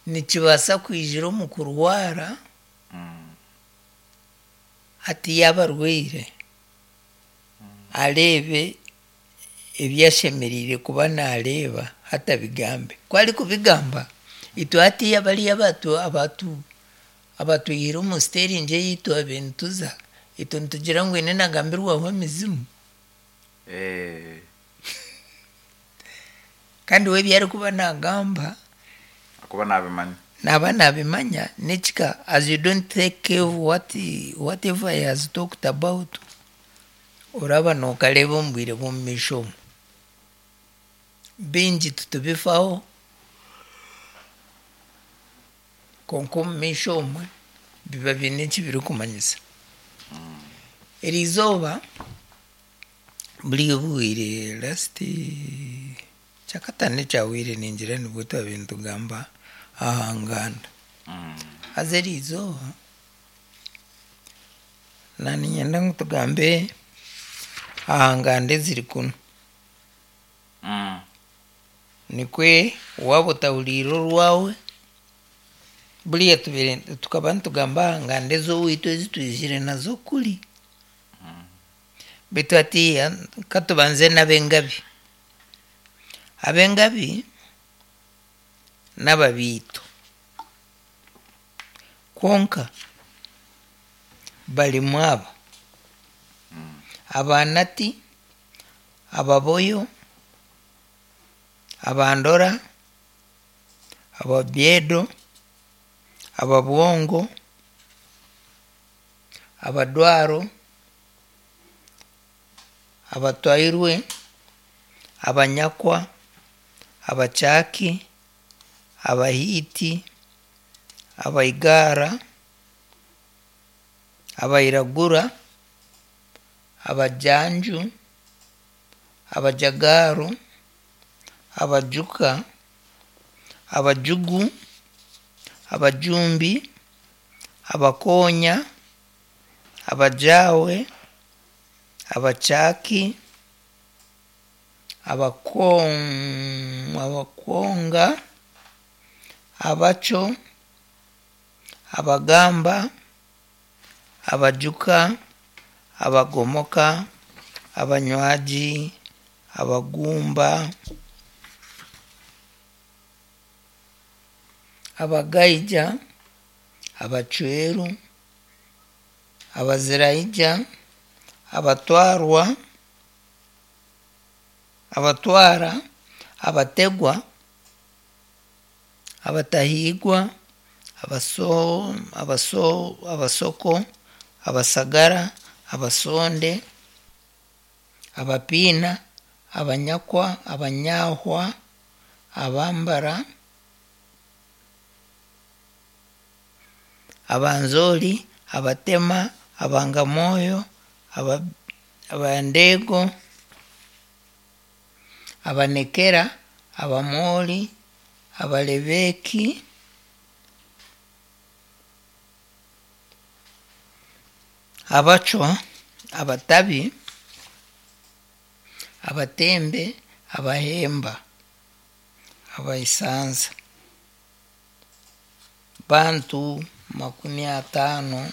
Nikibaasa kwijira omu kurwara, hati yaaba arwaire, areebe ebi ashemereire kuba naareeba hati abigambe. Ku arikubigamba, itwe hatiiya bariya abatwihire omu steeringi ei twabaire nituza, itwe nitugira ngu haine naagambirwaho emizimu. Kandi we ebi arikuba naagamba, akuba naabimanya. Naaba naabimanya n'ekika as you don't take care of whatever he has talked about, oraba nookareeba omu bwire bw'omumaisho omu. Bingi titubifaho, kwonka omumaisho omwe biba biine eki birikumanyisa. Eriizooba buri obwire last kyakataano ekyahweire ningira nibwo twabaire nitugamba aha nganda. Haza eriizooba naaniinyenda ngu tugambe aha nganda eziri kunu. Nikwe waaba otahuriire orwawe, buriya tubaire tukaba nitugamba aha nganda ez'owaitu ezi twizire nazo kuri. Beitu hatiiya katubanze n'ab'engabi. Ab'engabi n'ababiito. Kwonka barimu aba: Abanati, Ababoyo, Abandora, Ababyedo, Ababwongo, Abadwaro, Abatwairwe, Abanyakwa, Abakyaki, Abahiiti, Abaigara, Abairagura, Abajanju, Abajagaro, Abajuka, Abajugu, Abajumbi, Abakonya, Abajawe, Abakyaki, Abakwonga, Abaco, Abagamba, Abajuka, Abagomoka, Abanywagi, Abagumba, Abagaija, Abacweru, Abaziraija, Abatwarwa, Abatwara, Abategwa, Abatahiigwa, Abasoko, Abasagara, Abasonde, Abapiina, Abanyakwa, Abanyahwa, Abambara, Abanzori, Abatema, Abangamooyo, Abandeego, Abanekera, Abamoori, Abalebeeki, Abacwa, Abatabi, Abatembe, Abahemba, Abaisanza. Bantu 53.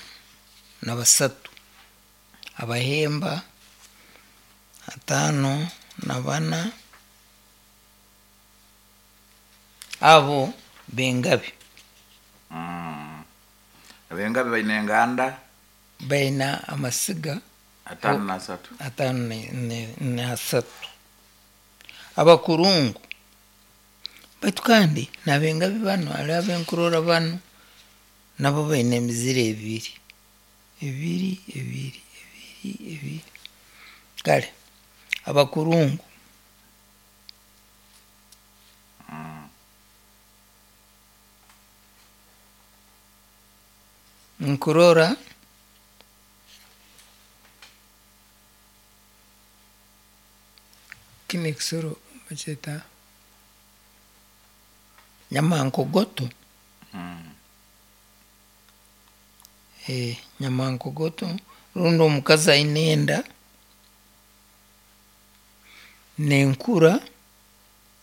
Abahemba 54, abo b'engabi. Abengabi baine enganda baine amasiga 53. 53. Abakurungu baitu kandi n'abengabi banu hariho abenkurora banu nabo baine emiziro ebiri, ebiri, ebiri, ebiri, ebiri. Kare abakurungu nkurora kinu ekisoro bakyeta nyamankogoto. Nyamankogoto rundi omukazi aine enda nenkura.